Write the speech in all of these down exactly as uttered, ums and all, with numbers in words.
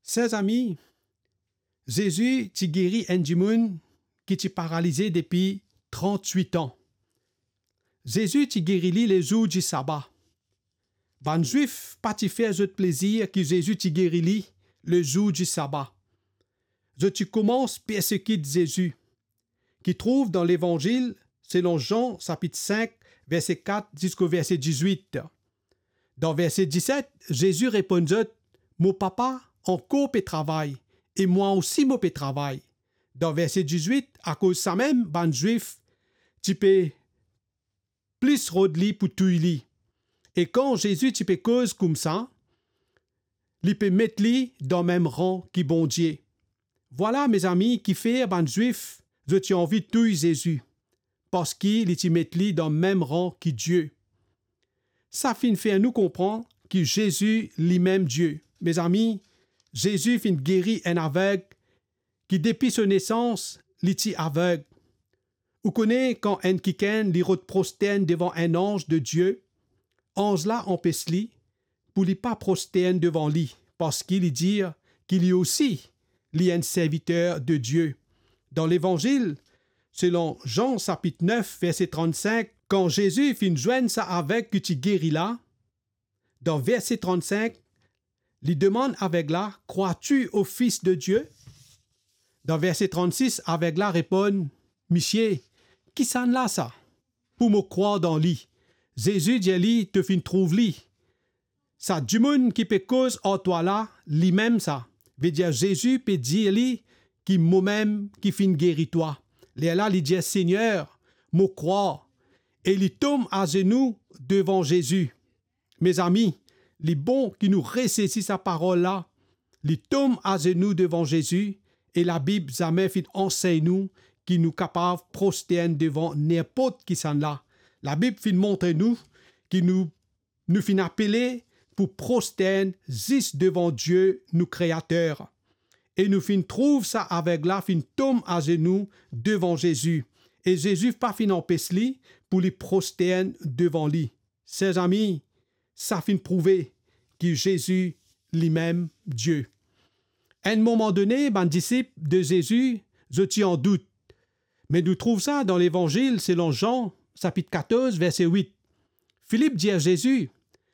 Ser zami, Zezi ti geri enn dimoun ki ti paralize depi trant-wit an. Zezi ti geri li lezour di saba. Bann Zwif pa ti fer zot plezir ki Zezi ti geri li lezour di saba. Zot ti koumans persekit Zezi, ki trouv dan Levanzil selon Zan sapit sink, verse kat ziska verse dizwit. Dan verse diset, Zezi reponn zot, "Mo Papa ankor pe travay, e mwa osi mo pe travay." Dan verse dizwit, akoz samem bann Zwif ti pe plis rod li pou touy li. E kan Zezi ti pe koz koumsa, li pe met li dan mem ran ki Bondie. Vwala, mezami, kifer bann Zwif, zot ti anvi touy Zezi, parski li ti met li dan mem ran ki Die. Sa finn fer nou konpran ki Zezi limem Die. Mezami, Zezi finn geri enn aveg ki depi so nesans, li ti aveg. Ou kone kan enn kikenn li rod prostern devan enn anz de Die, anz la anpes li pou li pa prostern devan li, parski li dir ki li osi, li enn serviter de Die. Dan Levanzil selon Zan sapit nef, verse trannsink, kan Zezi finn zwenn sa aveg ki ti geri la, dan verse trannsink, li demann aveg la, "Crois-tu au Fils de Dieu?" Dan verse trannsis, aveg la reponn, "Misie, kisannla sa, pou mo krwar dan li?" Zezi dir li, "To finn trouv li. Sa dimoun ki pe koz ar twa la, limem sa." Vedir Zezi pe dir li ki, "Momem ki finn geri twa." Lerla li dir, "Segner, mo krwar." E li tom azenou devan Zezi. Mezami, li bon ki nou resesi sa parol la. Li tom azenou devan Zezi, e Labib zame finn ansegn nou ki nou kapav prostern devan ninport kisannla. Labib finn montre nou ki nou, nou finn apele pou prostern zis devan Die, nou Kreater. E nou finn trouv sa aveg la finn tom azenou devan Zezi, e Zezi pa finn anpes li pou li prostern devan li. Ser zami, sa finn prouve ki Zezi limem Die. Enn moman done, bann disip de Zezi, zot ti an dout. Me nou trouv sa dan Levanzil selon Zan, sapit katorz, verse wit. Filip dir Zezi,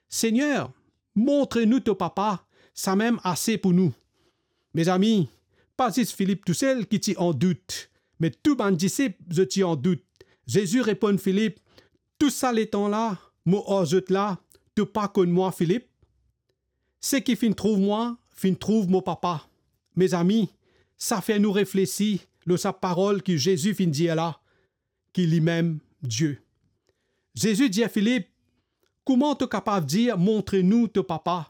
"Segner, montre nou to Papa, samem ase pou nou." Mezami, pa zis Filip tousel ki ti an dout, me tou bann disip, zot ti an dout. Zezi reponn Filip, "Tou sa letan la, mo ar zot la, to pa konn mwa, Filip? Seki finn trouv mwa, finn trouv mo Papa." Mezami, sa fer nou reflesi lor sa parol ki Zezi finn dir la, ki limem Die. Zezi dir Filip, "Kouma to kapav dir, 'Montre nou to Papa'?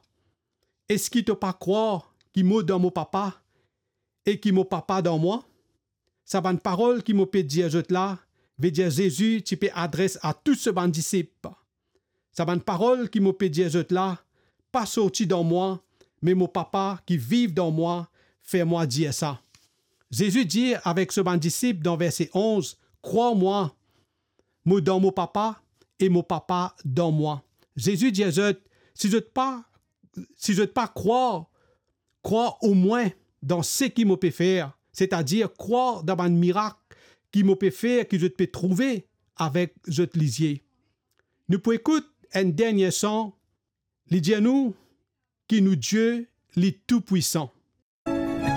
Eski to pa krwar ki mo dan mo Papa e ki mo Papa dan mwa?" Sa bann parol ki mo pe dir zot la, vedir Zezi ti pe adres a tou so bann disip. Sa bann parol ki mo pe dir zot la, pa sorti dan mwa, me mo Papa ki viv dan mwa fer mwa dir sa. Zezi dir avek so bann disip dan verse onz, "Krwar mwa, mo dan mo Papa e mo Papa dan mwa." Zezi dir zot, "Si zot pa, si zot pa krwar, krwar omwin dan seki mo pe fer, setadir krwar dan bann mirak ki mo pe fer, ki zot pe trouve avek zot lizie." Nou pou ekout enn dernie son, li dir nou ki nou Die, li toupwisan.